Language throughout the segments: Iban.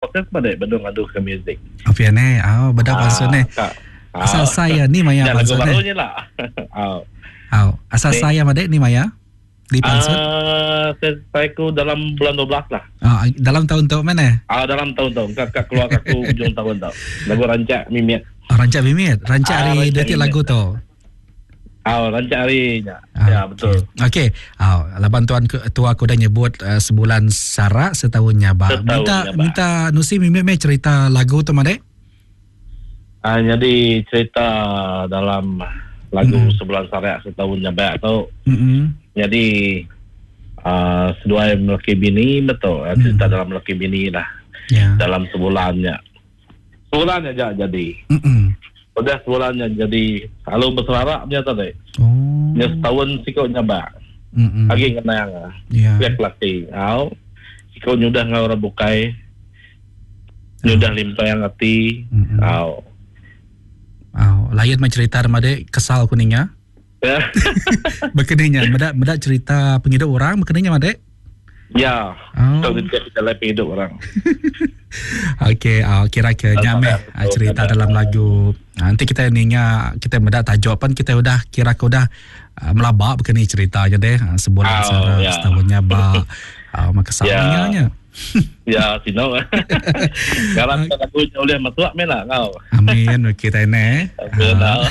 proses madi benung ngadu ke music. Oh pia neh. Au beda pansut neh. Asal sai ni maya pansut neh. Lagu baru nya lah. Au. Au asal sai madi ni maya di pansut. Uh, saya ku dalam bulan 12 lah. Ah, dalam tahun tu mana? Ah, dalam tahun tu. Kak kak keluar aku ujung tahun tu. Lagu rancak mimit. Oh, rancak mimit. Rancak ah, hari detik lagu tu. Au, rancak hari nya. Ah, ya, betul. Okey. Au, laban tuan tua aku dah nyebut uh, sebulan sarak setahun nyabak. Setahun minta nyabak. minta nusi mimit meh cerita lagu tu madek. Ah, jadi cerita dalam lagu mm. sebulan sarak setahun nyabak tu. Mm-hmm. Jadi uh, seduai melaki bini betul. Mm. Cerita dalam melaki bini lah. Yeah. Dalam sebulannya. Sebulan aja jadi. Mm-mm. Udah sebulan nya jadi lalu beserara nya tadi. Oh. Nya setahun siko nyabak. Mm-mm. Agi ngenang. Yeah. Pihak laki. Au. Siko nyudah ngau orang bukai. Nyudah oh. limpang ati. Mm-mm. Au. Au, lain mah cerita dek kesal ku ninga. Bekeni nya meda meda cerita pengidup orang bekeni nya madek. Ya. Oh. Tau kita dalam pengidup orang. Okey, uh, kira ke nya meh ah, cerita dalam lagu. Ah, nanti kita ninga kita meda tajuk pan kita udah kira ke udah uh, melaba bekeni cerita nya deh. Uh, sebulan oh, sara ya. setahun nya ba. Uh, maka ya. ninga nya. Ya, sino. Sekarang uh, lagu nya ulih masuk meh lah kau. Amin okey tai ne. Uh.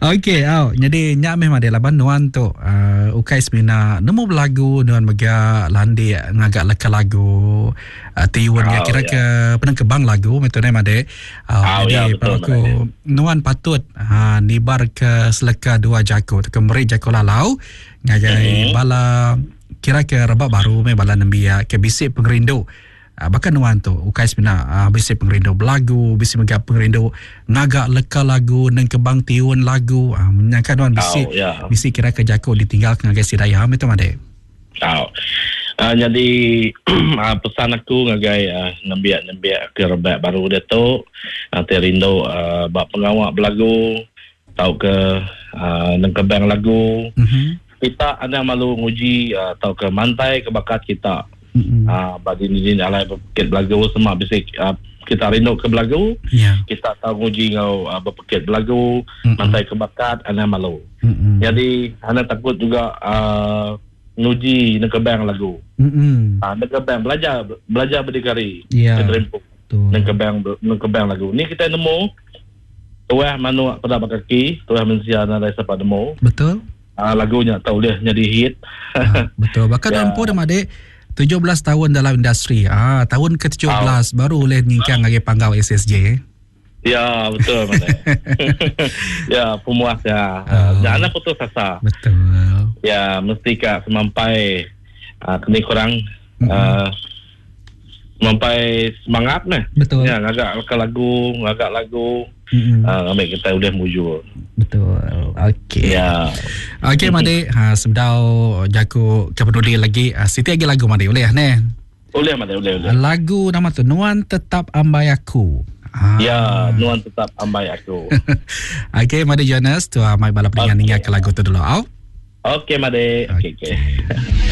Okey, au. Jadi nya meh madai laban nuan tu uh, ukai semina nemu belagu nuan mega landik ngaga leka lagu uh, tiun oh, kira ke ya. penengkebang lagu meh tu ne madai. Uh, oh, jadi ya, betul, aku nuan patut uh, nibar ke seleka dua jaku tu ke meri jaku lalau ngagai mm-hmm. bala Kira ke rebak baru meh bala nembiak ke bisi pengerindu baka nuan tu ukai semina bisi pengerindu belagu bisi mega pengerindu ngaga leka lagu nengkebang tiun lagu nyangka nuan bisi oh, yeah. bisi kira ke jaku ditinggal ke ngagai sida iya meh tu madik. Tau. Uh, jadi uh, pesan aku ngagai uh, nembiak-nembiak ke rebak baru diatu uh, ti rindu uh, ba pengawa belagu tauka uh, nengkebang lagu. Mm-hmm. Kita anang malu nguji uh, tauka mantai ke bakat kita. Mm-hmm. Uh, ba dini-dini alai bepekit belagu sema bisi uh, kita rindu ke belagu, yeah. kita tau nguji enggau uh, bepekit belagu, mm-hmm. mantai ke bakat anang malu. Mm-hmm. Jadi anang takut juga uh, nguji nengkebang lagu. Mm-hmm. Uh, nengkebang belajar belajar berdikari. Yeah. Nengkebang nengkebang lagu. Ni kita nemu Tuah manuk peda ba kaki, tuah mensia nadai sapa nemu. Betul. Uh, lagu nya tau ulih nyadi hit. uh, betul. Bahkan yeah. empu dah madik 17 tahun dalam industri. Ah, tahun ke-17 oh. baru ulih nyingkang ngagai panggau SSJ. Ya, betul mana. ya, pemuas ya. Oh. Jangan putus asa. Betul. Ya, mesti ka semampai uh, kena kurang mm-hmm. uh, Sampai semangat meh. Betul. Ya, ngaga leka lagu, ngaga lagu. Mm-hmm. Uh, ambil kita udah mujur. Betul. Okey. Ya. Okey, Madi. Ha, sebedau jaku ke peduli lagi, uh, siti lagi lagu Madi boleh ne? Boleh Madi, boleh, boleh. Lagu nama tu Nuan Tetap Ambai Aku. Ha. Ya, Nuan Tetap Ambai Aku. Okey, Madi Jonas, tu amai bala pendengar okay. ninga ke lagu tu dulu. Au. Okey, Madi. Okey, okey. Okay.